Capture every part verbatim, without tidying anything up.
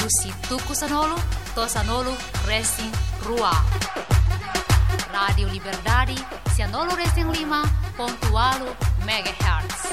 husi tuku sanulu to'o sanulu resin rua. Rádiu Liberdade, sanulu resin lima pontu ualu megahertz.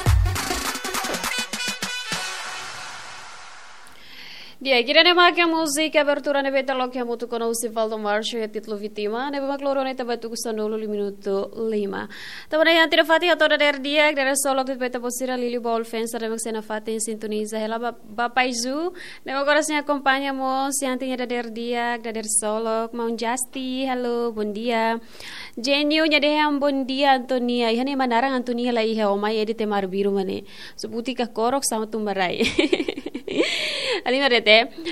Di'ak, ida-ne'e mak múzika abertura ne'ebé ita loke hamutuk ona husi Valdo Marcio, iha títulu Vítima, ne'ebé mak loro ne'e ita ba tuku sanulu lima minutu lima. Tanba ne'e iha tiha fatin hato'o dadeer di'ak, dadeer solok de'it ba ita-boot sira, liuliu ba Olfensa ne'ebé mak sei nafatin sintoniza hela ba, ba Paizu, ne'ebé mak agora sei akompaña mós, iha tiha dadeer di'ak, dadeer solok, maun Justi, halo, bondia. Jenio, nia dehan bondia Antonia, iha ne'e ema naran Antonia la iha, o mai edit ema arbiru mak ne'e. Sebuti ka korok sama tumbarai. Halimar de'it.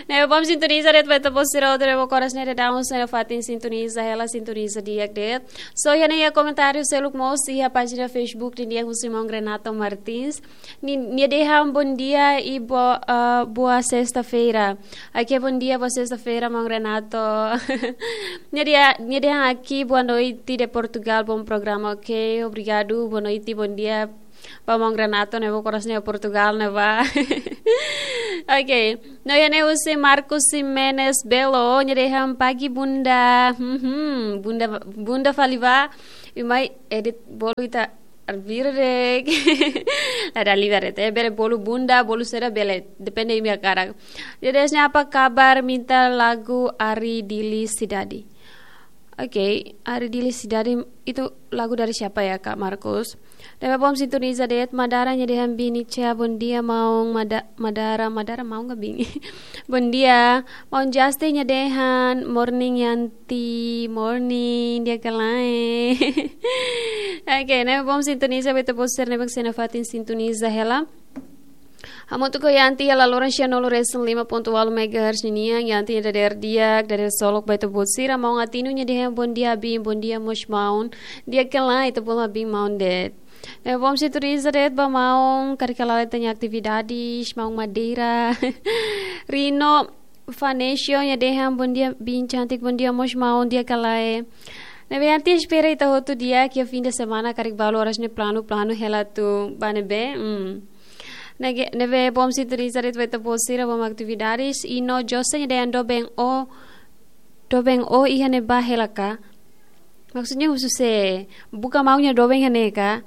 Ne'ebé bom sintoniza de'it ba ita-boot sira hotu ne'ebé mak oras ne'e daudaun sei nafatin sintoniza hela, sintoniza di'ak de'it. So, iha ne'e iha komentáriu seluk mós iha pájina Facebook nian husi maun Renato Martins. Ni-, nia dehan bondia i bo-, eh, boa sexta-feira. Oke, bondia, boa sexta-feira, maun Renato. Nia dehan, nia dehan aqui, boa noite de Portugal, bom programa, oke, obrigadu, boa noite, bondia ba maun Renato ne'ebé mak oras ne'e Portugal ne'ebá. Oke. No iha ne'e husi Marcos Ximenes Belo, nia dehan pagi bunda. Hmm, bunda, bunda fali ba. I mai edit bolu ita arbiru de'it. La dala ida de'it, eh, bele bolu bunda, bolu saida bele, depende imi hakarak. Nia dehan apa kabar, minta lagu Ari Dili Sidadi. Oke, Ari Dili Sidadi itu lagu dari siapa ya, Kak Markus? Ne'ebé bom sintoniza de'it, Madara nia dehan biin Ica, bondia maun, Mada-, Madara, Madara maun ka biin? Bondia, maun Justi nia dehan, morning Yanti, morning, di'ak ka lae? Oke, ne'ebé bom sintoniza ba ita-boot sira ne'ebé mak sei nafatin sintoniza hela. Hamutuk ho Yanti iha laloran sanulu resin lima pontu ualu megahertz ninian, Yanti nia dadeer di'ak, dadeer solok ba ita-boot sira, maun Atinu nia dehan bondia biin, bondia mós maun, di'ak ka lae, ita bolu biin maun de'it. Ne'ebé bom sintoniza de'it ba maun, karik ka lae ita-nia atividades, maun Madeira. Rino Vanesio nia dehan bondia biin cantik, bondia mós maun, di'ak ka lae? Ne'ebé Yanti espera ita hotu di'ak iha fim de semana, karik balu oras ne'e planu, planu hela atu ba ne'ebé. Hmm. Ne'e, ne'ebé bom sintoniza de'it ba ita-boot sira, bom atividades. I no Jose nia dehan doben ó, doben ó iha ne'ebá hela ka? Maksudnya husu sé, buka maun nia doben iha ne'e ka?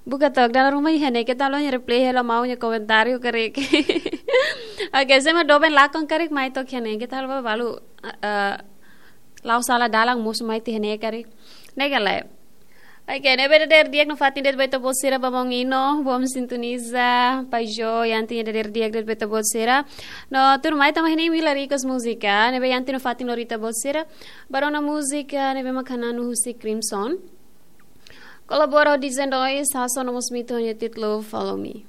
Buka tok, dala ruma iha ne'e, keta haluha nia reply hela maun nia komentáriu karik. Oke, sé mak doben lakon karik mai tok iha ne'e, keta haluha balu, eh, la'o sala dalan mosu mai tiha ne'e karik. Ne'e ka lae. Oke, ne'ebé dadeer di'ak nafatin de'it ba ita-boot sira, ba maun Ino, bom sintoniza, Pai Jo, Yanti nia dadeer di'ak de'it ba ita-boot sira. No, tuirmai tama iha ne'e imi la request múzika, ne'ebé Yanti nafatin lori ita-boot sira ba rona múzika ne'ebé mak hananu husi Crimson. Kolabora ho D J Noise, hasoru ona mós mitu ho nia títulu Follow Me.